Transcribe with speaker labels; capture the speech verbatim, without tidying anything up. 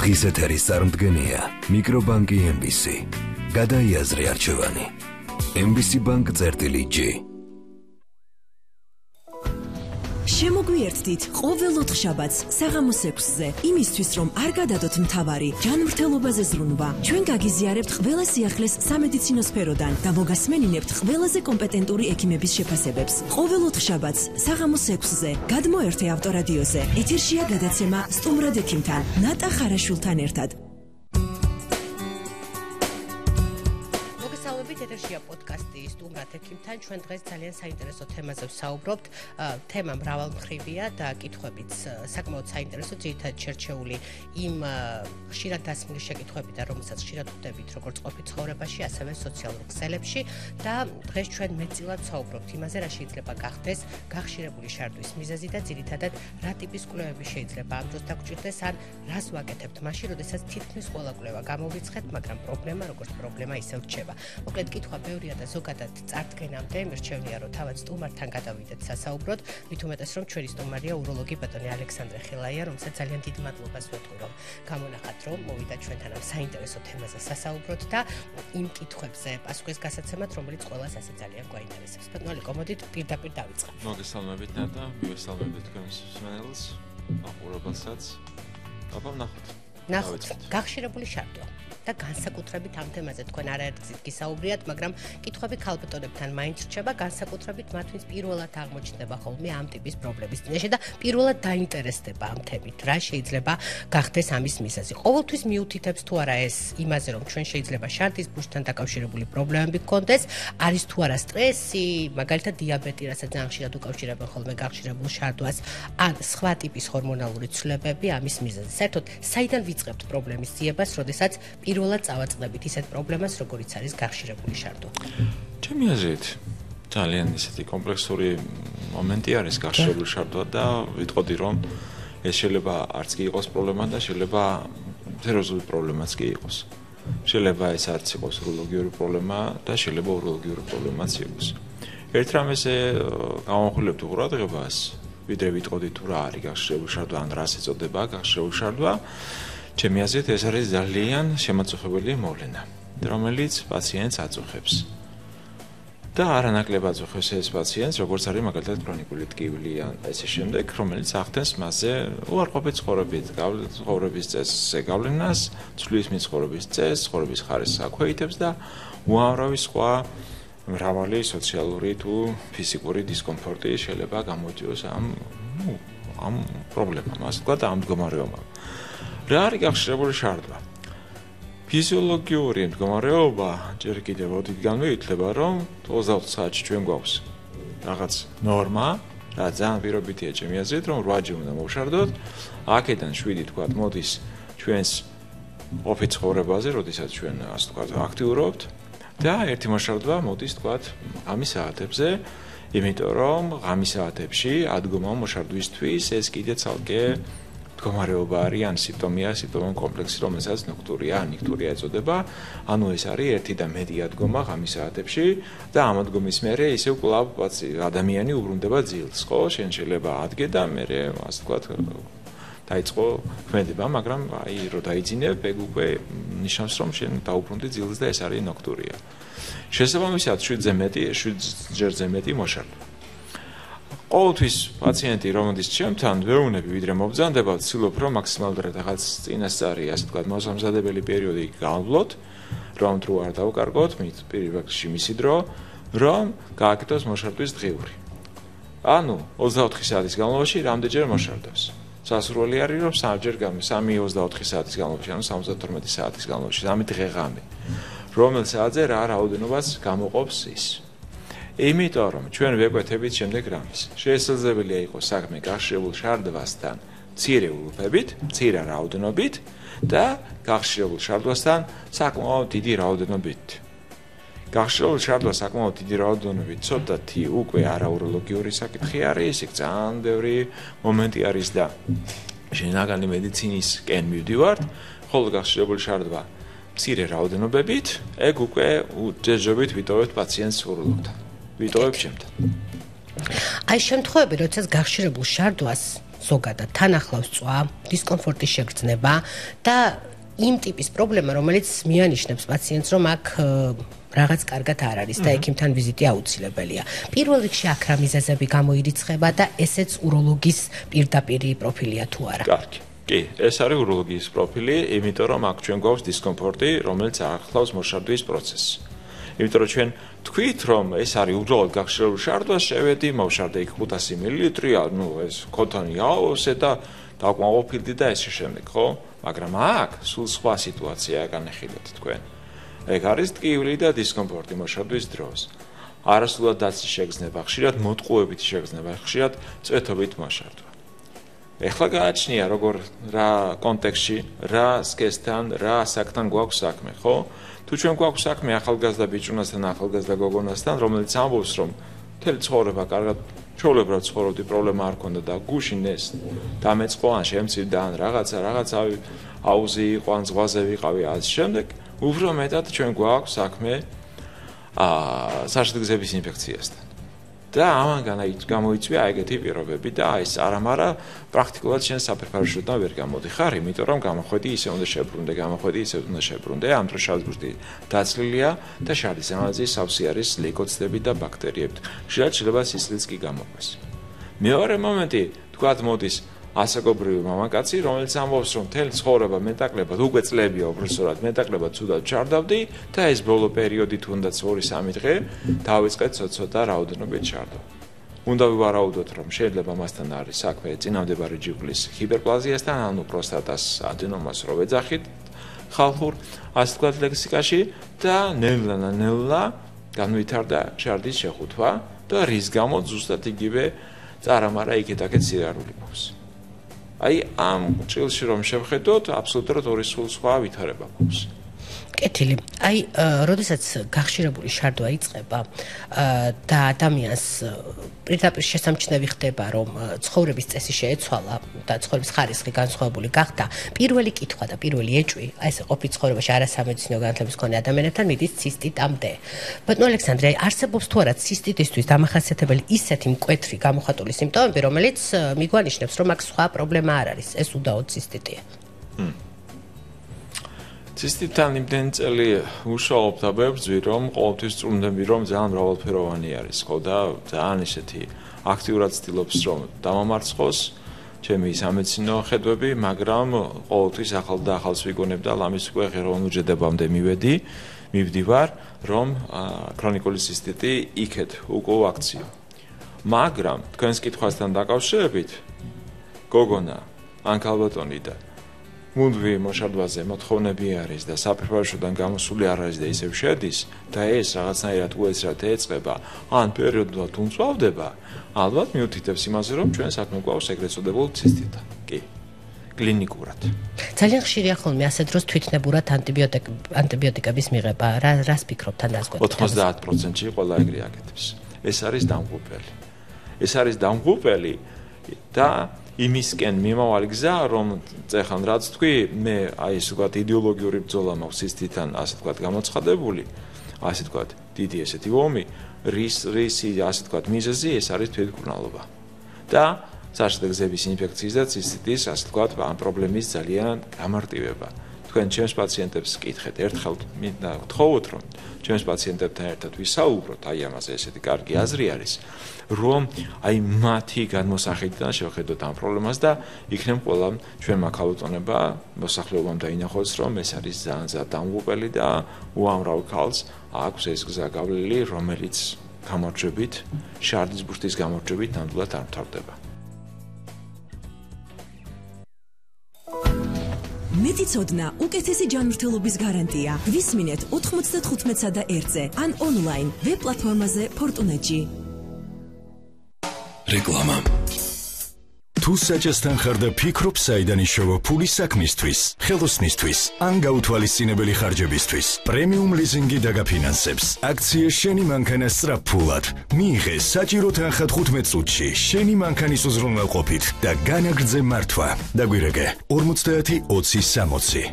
Speaker 1: დღის ეთერის წარმდგენია მიკრობანკი ემ ბი სი. გადაიაზრე არჩევანი. ემ ბი სი ბანკ წერტილი ჯი.
Speaker 2: შემოგვიერთდით ყოველ ოთხშაბათს საღამოს ექვსზე, იმისთვის რომ არ გადადოთ მთავარი ჯანმრთელობაზე ზრუნვა. ჩვენ გაგიზიარებთ ყველა სიახლეს სამედიცინო სფეროდან და მოგასმენინებთ ყველაზე კომპეტენტური ექიმების შეფასებებს. ყოველ ოთხშაბათს საღამოს ექვსზე გადმოერთე ავტორადიოზე. ეთერშია გადაცემა სტუმრად ექიმთან, ნატა ხარაშვილთან ერთად.
Speaker 3: ეთერშია პოდკასტი სტუმრად ექიმთან. ჩვენ დღეს ძალიან საინტერესო თემაზე ვსაუბრობთ. თემა მრავალმხრივია და კითხვებიც საკმაოდ საინტერესო, ძირითადად შერჩეული იმ ხშირად დასმული შეკითხვებიდან, რომელსაც ხშირად ხვდებით როგორც ყოფით ცხოვრებაში, ასევე სოციალურ ქსელებში და დღეს ჩვენ მეტწილად ვსაუბრობთ იმაზე, რა შეიძლება გახდეს გახშირებული შარდვის მიზეზი და ძირითადად რა ტიპის კვლევები შეიძლება ამ დროს დაგჭირდეს, ან რას ვაკეთებთ მაშინ, როდესაც თითქმის ყველა კვლევა გამოვიცხეთ, მაგრამ პრობლემა როგორც პრობლემა ისევ რჩება. მოკლედ კითხვა ბევრია და ზოგადად წარდგენამდე მირჩევნია რომ თავად სტუმართან გადავიდეთ სასაუბროდ, მით უმეტეს რომ ჩვენი სტუმარია უროლოგი ბატონი ალექსანდრე ხილაია, რომელსაც ძალიან დიდ მადლობას ვეთქვი რომ გამონახათ, რომ მოვიდა ჩვენთან ამ საინტერესო თემაზე სასაუბროდ და იმ კითხვებზე პასუხის გასაცემად, რომელიც ყველას ასე ძალიან გვაინტერესებს. ბატონო, კომოდით პირდაპირ დავიწყებთ.
Speaker 4: მოგესალმებით ნატა, მივესალმებით თქვენს მსმენელს, მაყურებელსაც. აბა ნახოთ.
Speaker 3: ნახოთ, გახშირებული შარდვა. და განსაკუთრებით ამ თემაზე თქვენ არაერთ გზით გისაუბრიათ, მაგრამ კითხვები ქალბატონებთან მაინც რჩება, განსაკუთრებით მათ, ვინც პირველად აღმოჩნდება ხოლმე ამ ტიპის პრობლემის წინაშე და პირველად დაინტერესდება ამ თემით, რა შეიძლება გახდეს ამის მიზეზი. ყოველთვის მიუთითებს თუ არა ეს იმაზე, რომ ჩვენ შეიძლება შარდის ბურჯთან დაკავშირებული პრობლემები გქონდეს, არის თუ არა სტრესი, მაგალითად დიაბეტი, რასაც ძალიან ხშირად უკავშირებენ ხოლმე გახშირებულ შარდვას, ან სხვა ტიპის ჰორმონალური ცვლილებები ამის მიზეზი. საერთოდ, საიდან ვიწყებთ პრობლემის ძიებას, როდესაც პირველად წავაწყდებით ისეთ პრობლემას, როგორიც არის გახშირებული შარდვა.
Speaker 4: ჩემი აზრით, ძალიან ისეთი კომპლექსური მომენტი არის გახშირებული შარდვა და ვიტყოდი, რომ ეს შეიძლება არც კი იყოს პრობლემა და შეიძლება სერიოზული პრობლემაც კი იყოს. შეიძლება ეს არც იყოს უროლოგიური პრობლემა და შეიძლება უროლოგიური პრობლემაც იყოს. ერთ რამეზე გამოვხილებთ ყურადღებას, ვიდრე ვიტყოდი თუ რა არის გახშირებული შარდვა, ან რას ეწოდება გახშირებული შარდვა. ჩემი აზრით ეს არის ძალიან შემაწუხებელი მოვლენა, რომელიც პაციენტს აწუხებს. და არანაკლებ აწუხებს ეს პაციენტს, როგორც არის მაგალითად ქრონიკული ტკივილი ან ესე შემდეგ, რომელიც ახდენს მასზე უარყოფით ცხოვრებით, ცხოვრების წესზე გავლენას, ცვლის მიცხოვრების წესს, ცხოვრების ხარისხს აქვეითებს და უამრავი სხვა მრავალი სოციალური თუ ფიზიკური დისკომფორტი შეიძლება გამოიწვიოს ამ ამ პრობლემამ, ასე ვთქვათ, ამ მდგომარეობამ. რა არის გახშირებული შარდვა? ფიზიოლოგიური მდგომარეობა ჯერ კიდევ ოდითგანვე ითვლება, რომ ოცდაოთხ საათში ჩვენ გვაქვს რაღაც ნორმა, რა ძალიან პირობითია ჩემი აზრით, რომ რვაჯერ უნდა მოვშარდოთ. აქედან შვიდი თქვათ მოდის ჩვენს ყოფით ცხოვრებაზე, როდესაც ჩვენ ასე ვთქვათ აქტიურობთ და ერთი მოშარდვა მოდის თქვათ ღამის საათებზე, იმიტომ რომ ღამის საათებში ადგომა მოშარდვისთვის ეს კიდე ცალკე მდგომარეობა არის, ან სიმპტომია, სიმპტომის კომპლექსი, რომელსაც ნოქტურია, ან ნიქტურია ეწოდება. ანუ ეს არის ერთი და მეტი ადგომა ღამის საათებში და ამ ადგომის მერე ისევ კვლავ ადამიანი უბრუნდება ძილს, ხო? შენ შეიძლება ადგე და მერე, ასე ვთქვათ, დაიწყო ქმედება, მაგრამ აი რო დაიძინებ, ეგ უკვე ნიშნავს, რომ შენ დაუბრუნდი ძილს და ეს არის ნოქტურია. შესაბამისად, შვიდზე მეტი, შვიდჯერზე მეტი მოშარდვა. ყოველთვის პაციენტი რომდის ჩემთან ვეუბნები, ვიდრე მობრძანდება, ვცდილობ რომ მაქსიმალურად რაღაც წინასწარი, ასე ვთქვათ, მოსამზადებელი პერიოდი გავავლოთ, რომ თუ არ დავკარგოთ, მით პირველ რიგში მისი დრო, რომ გააკეთოს მოშარდვის დღიური. ანუ ოცდაოთხი საათის განმავლობაში რამდენჯერ მოშარდავს? სასურველი არის რომ სამჯერ სამი ოცდაოთხი საათის განმავლობაში, ანუ სამოცდათორმეტი საათის განმავლობაში, სამი დღე-ღამე. რომელ საათზე რა რაოდენობას გამოყოფს ის? იმიტომ რომ ჩვენ ვეკვეთებით შემდეგ რამეს. შესაძლებელია იყოს საქმე გახშირებულ შარდვასთან მცირე ულუფებით, მცირე რაოდენობით და გახშირებულ შარდვასთან საკმაოდ დიდი რაოდენობით. გახშირებულ შარდვას საკმაოდ დიდი რაოდენობით ცოტათი უკვე არაუროლოგიური საკითხი არის, იქ ძალიან ბევრი მომენტი არის და შინაგანი მედიცინის-კენ მივდივართ, ხოლო გახშირებული შარდვა მცირე რაოდენობებით, ეგ უკვე ჯერჯერობით ვიტოვებთ პაციენტს უროლოგთან. ვიტოვებ ჩემთან.
Speaker 3: აი შემთხვევები, როდესაც გახშირებულ შარდვას ზოგადად თან ახლავს წვა, დისკომფორტის შეგრძნება და იმ ტიპის პრობლემა, რომელიც მიანიშნებს პაციენტს, რომ აქ რაღაც კარგად არ არის და ექიმთან ვიზიტი აუცილებელია. პირველ რიგში აქ რა მიზეზები გამოირიცხება და ესეც უროლოგის პირდაპირი პროფილია თუ არა?
Speaker 4: კარგი. კი, ეს არის უროლოგიის პროფილი, იმიტომ რომ აქ ჩვენ გვაქვს დისკომფორტი, რომელიც ახლავს მოშარდვის პროცესს. იმიტომ რომ ჩვენ თქვით, რომ ეს არის უბრალოდ გახშირებული შარდვა, შევედი, მოვშარდე იქ ხუთასი მილილიტრი, ну, ეს ქოთანი აავსე და დავკმაყოფილდი და ესე შემდეგ, ხო? მაგრამ აქ სულ სხვა სიტუაციაა განეხილეთ თქვენ. ეგ არის ტკივილი და დისკომფორტი მოშარდვის დროს. არასრულად დაცის შეგრძნება, ხშირად მოტყუებითი შეგრძნება, ხშირად წვეთობით მოშარდვა. ეხლა გააჩნია როგორ რა კონტექსტში, რა სქესთან, რა საკთან გვაქვს საქმე, ხო? თუ ჩვენ გვაქვს საქმე ახალგაზრდა ბიჭუნასთან, ახალგაზრდა გოგონასთან, რომელიც ამბობს, რომ მთელი ცხოვრება კარგად ჩვეულებრივად ცხოვრობდი, პრობლემა არ ქონდა და გუშინ ეს დამეწყო, ან შემცირდა, ან რაღაცა, რაღაცა აუზი იყო, ან ზღვაზე ვიყავი, ასე შემდეგ, უფრო მეტად ჩვენ გვაქვს საქმე აა საშუალების ინფექციასთან. და ამან გამოიწვია ეგეთი პირობები და ეს არამარა პრაქტიკულად შენ საფერფარშოდან ვერ გამოდიხარ, იმიტომ რომ გამოხვედი ისე უნდა შებრუნდე, გამოხვედი ისე უნდა შებრუნდე, ამ დროს შავიზბურთი დაცლილია და შარდის ანალიზის სავსე არის ლეიკოციტები და ბაქტერიები. ხშირად შეიძლება სისხლიც კი გამოყვეს. მეორე მომენტი, თქვათ მოდის ასაკობრივი მამაკაცი, რომელიც ამბობს, რომ მთელი ცხოვრება მეტაკლებად უკვე წლებია უბრალოდ მეტაკლებად ცუდად ჩარდავდი და ეს ბოლო პერიოდი თუნდაც ორი სამი დღე დავიწყეთ ცოტა რაოდენობით ჩარდვა. უნდა ვივარაუდოთ, რომ შეიძლება მასთან არის საქმე წინამდებარე ჯიგვლის ჰიპერპლაზიასთან, ანუ პროსტატას ადენომას რო ვეძახით ხალხურ ასე ვთქვათ ლექსიკაში და ნელა-ნელა განვითარდა ჩარდის შეხუთვა და რის გამო ზუსტად იგივე წარამარა იქეთ-აქეთ სირარული გვაქვს. აი ამ ჭილში რომ შევხედოთ, აბსოლუტურად ორი სულ სხვა ვითარება გვაქვს.
Speaker 3: კეთილი. აი, როდესაც გახშირებული შარდვა იწყება და ადამიანს პირდაპირ შესამჩნევი ხდება, რომ ცხოვრების წესი შეეცვალა და ცხოვრების ხარისხი განსხვავებული გახდა, პირველი კითხვა და პირველი ეჭვი, აი ესე ყოფილი ცხოვრებაში არასამედიცინო განათლების მქონე ადამიანებთან მიდის ცისტიტამდე. ბატონო ალექსანდრე, აი არსებობს თუ არა ცისტიტისთვის დამახასიათებელი ისეთი მკვეთრი გამოხატული სიმპტომები, რომელიც მიგვანიშნებს, რომ აქ სხვა პრობლემა არ არის, ეს უდაოდ ცისტიტია.
Speaker 4: ცისტიტთან იმდენი წელი ვუშაობ და ვებრძვი, რომ ყოველთვის წვრთნები, რომ ძალიან მრავალფეროვანი არის, ხო და ძალიან ისეთი აქტიურად ცდილობს, რომ დამამარცხოს ჩემი სამედიცინო ხედვები, მაგრამ ყოველთვის ახალ და ახალს ვიგონებ და ამის უკვე ღეროულ უჯრედებამდე მივედი, მივდივარ, რომ ქრონიკული ცისტიტი იქეთ უკვე აქციო. მაგრამ თქვენს კითხვასთან დაკავშირებით, გოგონა, ან ქალბატონი და მუდმივი მოშარდვაზე მოთხოვნები არის და საფერფარშოდან გამოსული არ არის და ისევ შედის და ეს რაღაცნაირად უეცრად ეწყება, ან პერიოდულად უმწვავდება, ალბათ მიუთითებს იმაზე, რომ ჩვენ საქმე გვაქვს ეგრეთ წოდებულ ცისტიტთან. კი. კლინიკურად.
Speaker 3: ძალიან ხშირია ხოლმე ასე დროს თვითნებურად ანტიბიოტიკების მიღება. რა რას ფიქრობთ თან დასკვეთ?
Speaker 4: ოცდაათ პროცენტში ყველა ეგრე აკეთებს. ეს არის დამღუპელი. ეს არის დამღუპელი და იმისკენ მიმავალი გზა, რომ წეხან რაც თქვი, მე აი ესე ვთქვათ იდეოლოგიური ბრძოლა მაქვს ცისტიტთან, ასე ვთქვათ გამოცხადებული, ასე ვთქვათ დიდი ესეთი ომი, რის რისი ასე ვთქვათ მიზეზი ეს არის თვითმკურნალობა. და საშუალო გზების ინფექციის და ცისტიტის ასე ვთქვათ ამ პრობლემის ძალიან გამარტივება. თქვენ ჩემს პაციენტებს კითხეთ, ერთხელ მინდა გთხოვოთ, რომ ჩემს პაციენტებთან ერთად ვისაუბროთ, აი ამაზე ესეთი კარგი აზრი არის, რომ აი მათი განმოსახედიდან შევხედოთ ამ პრობლემას და იქნებ ყველა ჩვენმა ქალბატონებმა მოსახლეობამ დაინახოს, რომ ეს არის ძალიან ძალიან დამღუპელი და უამრავ ქალს აქვს ეს გზა გავლილი, რომელიც გამარჯვებით, შარდის ბურთის გამარჯვებით ნამდვილად არ მთავრდება.
Speaker 2: მეტიცოდნა უკეთესი ჯანმრთელობის გარანტია. ვისმინეთ ოთხმოცდათხუთმეტსა და ერთზე ან ონლაინ ვებ პლატფორმაზე Fortunet-ში.
Speaker 1: რეკლამა. თუ საჭესთან ხარ და ფიქრობ საიდან იშოვა ფული საქმისთვის, ხელოსნისთვის, ან გაუთვალისწინებელი ხარჯებისთვის, პრემიუმ ლიზინგი დაგაფინანსებს. აქცია შენი მანქანა სწრაფფულად. მიიღე საჭირო თანხა თხუთმეტ წუთში შენი მანქანის უზრუნველყოფით და განაგრძე მართვა. დაგვირეკე ორმოცდაათი ოცი სამოცი.